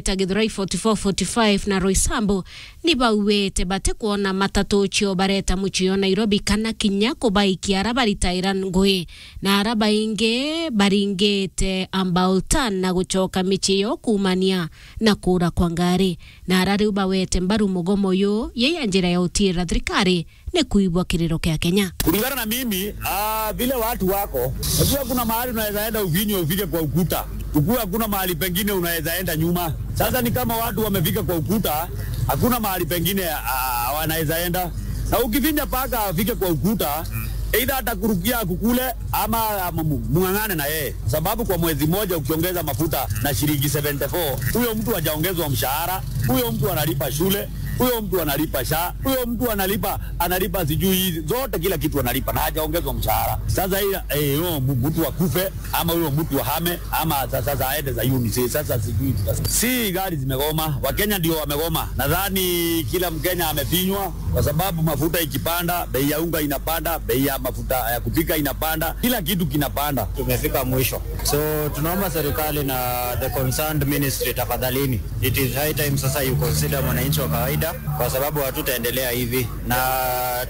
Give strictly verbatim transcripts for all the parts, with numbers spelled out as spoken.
ta Githurai forty-four forty-five na Roysambu ni bauite batikwona matatu cio bareta mucii o Nairobi kana kinya kubaikia ara baritaira ngui, na ara baingi baringite Ambaultan na gucoka micii yo kuumania na kuura kwa ngari, na ara riu bawete mbaru mugomo uyu yei ya njira ya utiira thirikari ni kuigua kiriro kia Kenya. Kulingana na mimi, ah, vile watu wako, unajua kuna mahali unaweza enda uvinywe ufike kwa ukuta. Ukue hakuna mahali pengine unaweza enda nyuma. Sasa ni kama watu wamefika kwa ukuta, hakuna mahali pengine, ah, wanaweza enda. Na ukivinya paka afike kwa ukuta, either atakurukia akukule ama, ama mu-, mung'ang'ane na yeye. Sababu kwa mwezi mmoja ukiongeza mafuta na shilingi seventy-four, huyo mtu hajaongezwa mshahara, huyo mtu analipa shule, huyo mtu analipa sha, huyo mtu analipa, analipa sijui hizi zote, kila kitu analipa na hajaongezwa mshahara. Sasa hii, eh, huyo mu-, mtu akufe ama huyo mtu ahame ama sa-, sasa aende Zayuni, si-, sasa sijui tutas-, si gari zimegoma, Wakenya ndio wamegoma. Nadhani kila Mkenya amefinywa kwa sababu mafuta ikipanda, bei ya unga inapanda, bei ya mafuta ya kupika inapanda, kila kitu kinapanda. Tumefika mwisho. So tunaomba serikali na the concerned ministry, tafadhalini, it is high time sasa you consider mwananchi wa kawaida, kwa sababu hatutaendelea hivi na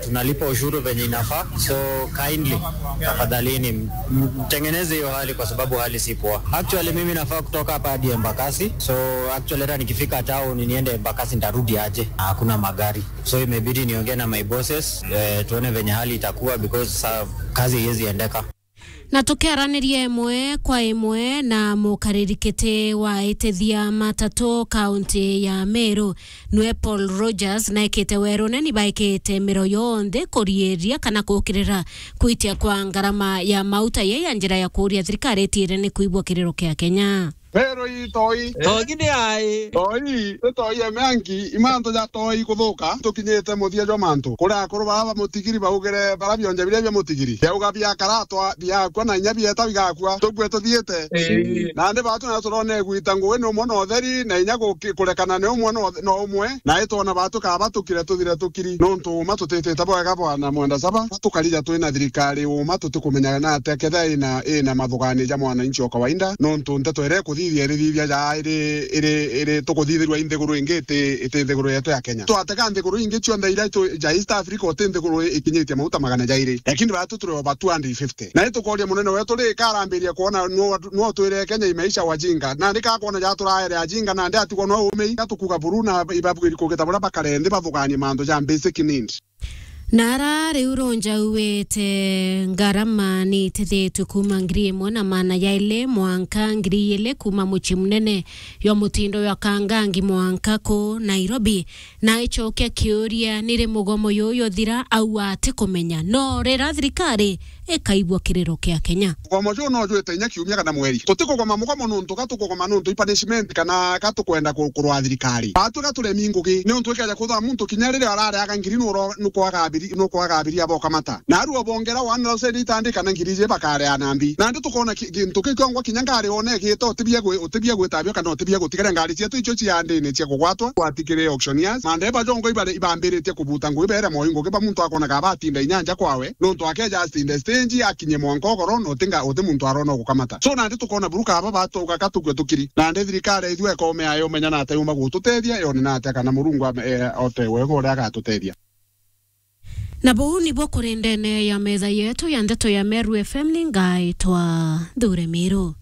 tunalipa ushuru venye inafaa. So kindly, tafadhalini, m-, mtengeneze hiyo hali, kwa sababu hali si poa. Actually, mimi nafaa kutoka hapa hadi Embakasi. So actually, hata nikifika town niende Embakasi, nitarudi aje? Hakuna magari. So imebidi niongee na my bosses, eh, tuone venye hali itakuwa, because sa-, kazi haiwezi endeka. Na tukiaraniria imwe kwa imwe na mukariri kiti wa itithia matatu kaunti ya Meru, nwe Paul Rogers, naikite werune ni baikite miro yonthe kuriiria kana kukirira kwitia kwa ngarama ya mauta, yei ya njira ya kuuria thirikari itiire ni kuigua kiriro kia Kenya. Pero i toi. Togi ni ai? Toi, ni toi ya miangi, imanto ja toi kuthuka, tukinyite muthia jwa mantu. Kuri akuru baba ba mutigiri baugire bara bionje biria bia mutigiri. Biauga biakaratwa, biakua na inya bieta bigakua. Tukue tuthiite. Ii. Nandi batu na turone gwita ngugi ni umwe na utheri, na inya guki-, kurekana ni umwe na uthe-, na umwe. Na itwona batu kaba tukire tuthire tukiri. Nontu uma tutitite bwega bwana Mwenda Saba, tukarija twina thirikari uma tutikumenya na atia ketha ina, ina mathugani ja mwananchi o kawaida, nontu nteto iria ikuthithia irithithia ja iri, iri, iri tukuthithirwa i nthiguru ingi iti, iti nthiguru yetu ya Kenya. Twatega nthiguru ingi cionthe iria tu-, ja East Africa uti nthiguru ikinyitie mauta magana jairi. Lakini batu turi over two hundred fifty. Na itukoria munene wetu ri karambiria kwona no, no twire Kenya imeisha wajinga. Nandi kakwona ja turaere ajinga, nandi atigwa no umei, gatukuga buru na ibabwiri kugita buria bakare nthi bathuganie mantu ja basic need. Na ara riu ronja uwete ngarama ni itithitwe kuuma ngiri imwe na maana jairi mwanka ngiri iiri kuuma mucii munene jwa mutindo jwa Kangangi mwanka ku Nairobi, na icokia kiuria ni ri mugomo juju juthira, au atikumenya no rira thirikari ikaigua kiriro kia Kenya. Mugomo juu no jwite inya kiumia kana mweri. Tutikugoma mugomo nontu ka tukugoma nontu i punishment kana ka tukwenda ku-, kurwa thirikari. Batwi ka turemi ngugi, nontu ikeja kwithirwa muntu kinya riria arareaga ngiri nuro-, nukwaga abiri-, nukwaga abiria bokamata. Na aru obongera one thousand eight hundred kana ngiri iji bakarea na mbi. Nandi tukona ki-, gintu kiu kiongwa kinya ngari one igita utibia gwi-, utibia gwitabio kana utibia gutigara ngari cietu icio cia ndini cia kugwatwa, gwatikire auctioneers. Mandeba jongo ibare-, ibambiritie kubuta ngugi bere moi ngugi ba muntu akonaga batinda inyanja kwawe. Nontu akeja asinde stage, akinye mwanka ugoro, na uti nga-, uti muntu arona ugukamata. So, nandi tukona buru kaba batuga ka tukue tukiri. Nandi thirikari ithua ikome ayo menya na ata yuma gututethia, yone na ata kana Murungu ame-, eh, ote wega uria agatutethia. Na buu nibuo kuri ndene ya metha yetu ya ndeto ya Meru F M, ni ngaitwa Nthure Miru.